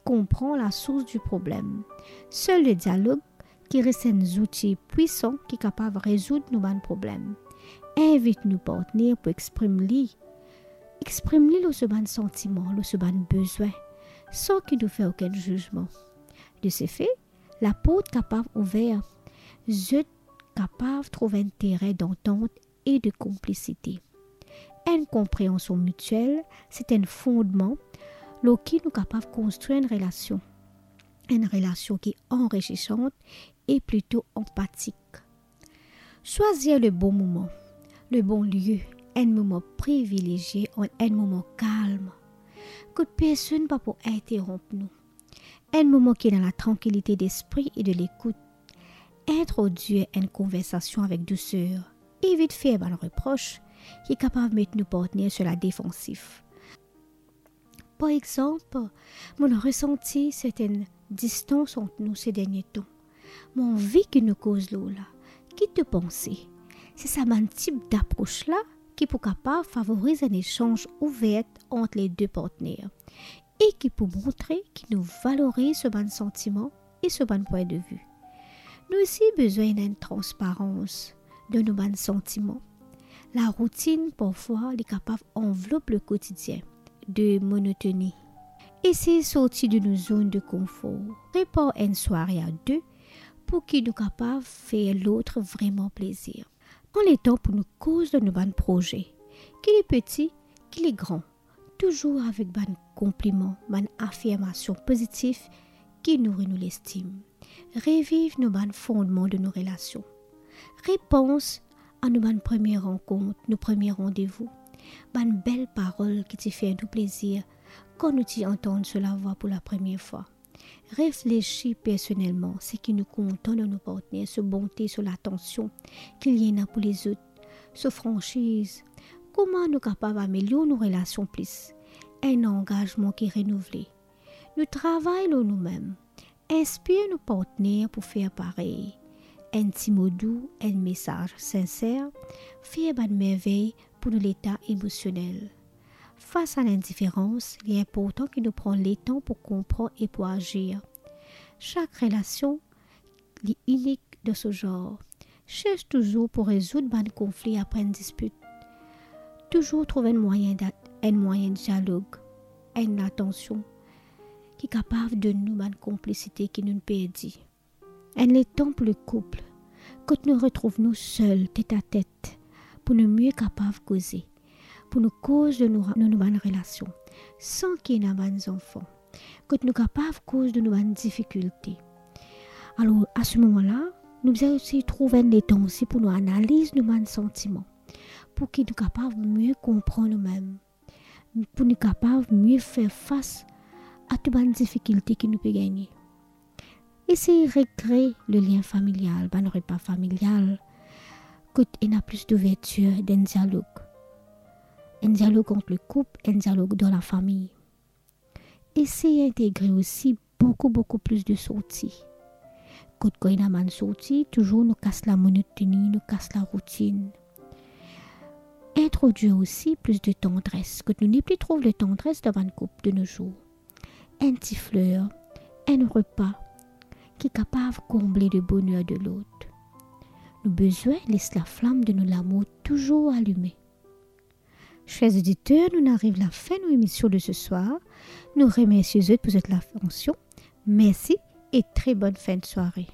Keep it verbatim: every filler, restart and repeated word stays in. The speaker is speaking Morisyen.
konpran lasours di problem. Sel le dialog ki res enn zouti pwisan ki kapav rezoud nou bann problem. Invit nou partner pou exprim li. Exprim li lor so bann santiman, lor so bann bezwin, san ki nou fer okenn zizman. De se fe, laport kapav ouver. Zot kapav trouv enn terin dantant e de konplisite. Enn konpreansion mitiel, se enn fondman lor ki nou kapav konstrir enn relasion. Enn relasion ki anrisisan e plito anpatik. Swazir le bon moman, le bon lie, enn moman privilezie, enn moman kalm, kot personn pa pou interronp nou. Enn moman ki ena latrankilite despri e de lekout. Introdwir enn konversasion avek douser. Evit fer bann repros ki kapav met nou partner sir ladefansif. Par exanp, mo'nn resanti sertenn distans ant nou se dernie tan. Mo anvi ki nou koz lor la. Ki to panse? Se sa bann tip dapros la ki pou kapav favoriz enn lesanz ouver ant le de partner e ki pou montre ki nou valoriz so bann santiman e so bann pwin de vi. Nou osi bizin ena enn transparans dan nou bann santiman. Laroutinn, parfwa, li kapav anvlop le kotidien de monotoni. Esey sorti de nou zonn de konfor. Prepar enn sware a de pou ki nou kapav fer lot vreman plezir. Pran letan pou nou koz lor nou bann proze, ki li peti, ki li gran, touzour avek bann konpliman, bann afirmasion pozitif ki nouri nou lestim. Reviv nou bann fondman de nou relasion. Repans a nou bann premie rankont, nou premie randevou, bann bel parol ki ti fer nou plezir kan nou ti antann so lavwa pou lapremie fwa. Reflesi personelman seki nou kontan dan nou partner, so bonte, so latansion ki li ena pou lezot, so fransiz. Kouma nou kapav amelior nou relasion plis? Enn angazman ki renouvle. Nou travay lor noumem. Inspir nou partner pou fer parey. Enn ti mo dou, enn mesaz sinser, fer bann mervey pou nou leta emosionel. Fas a lindiferans, li inportan ki nou pran letan pou konpran e pou azir. Sak relasion, li inik dan so zar. Sers touzour pou rezoud bann konfli apre enn dispit. Touzour trouv enn mwayin da-, enn mwayin dialog, enn latansion ki kapav donn nou bann konplisite ki nou'nn perdi. Enn letan pou le koup, kot nou retrouv nou sel, tet a tet, pou nou mie kapav koze, pou nou koz lor nou, nou, nou bann relasion, san ki ena bann zanfan, kot nou kapav koz lor nou bann difikilte. Alor, a se moman la, nou bizin osi trouv enn letan osi pou nou analiz nou bann santiman, pou ki nou kapav mie konpran noumem, pou nou kapav mie fer fas a tou bann difikilte ki nou pe gagne. Esey rekre le lien familial, bann repa familial, kot ena plis douvertir, d'enn dialog. Enn dialog ant le koup, enn dialog dan lafami. Esey integre osi boukou, boukou plis de sorti. Kot kan ena bann sorti, touzour nou kas lamonotoni, nou kas laroutinn. Introdwir osi plis de tandres, kot nou nepli trouv letandres dan bann koup de nozour. Enn ti fler, enn repa ki kapav konble le boner de lot. Nou bizin les laflam de nou lamour touzour alime. Cher oditer, nou'nn ariv lafin nou emision de se swar. Nou remersie zot pou zot latansion. Mersi e tre bonn fin de sware.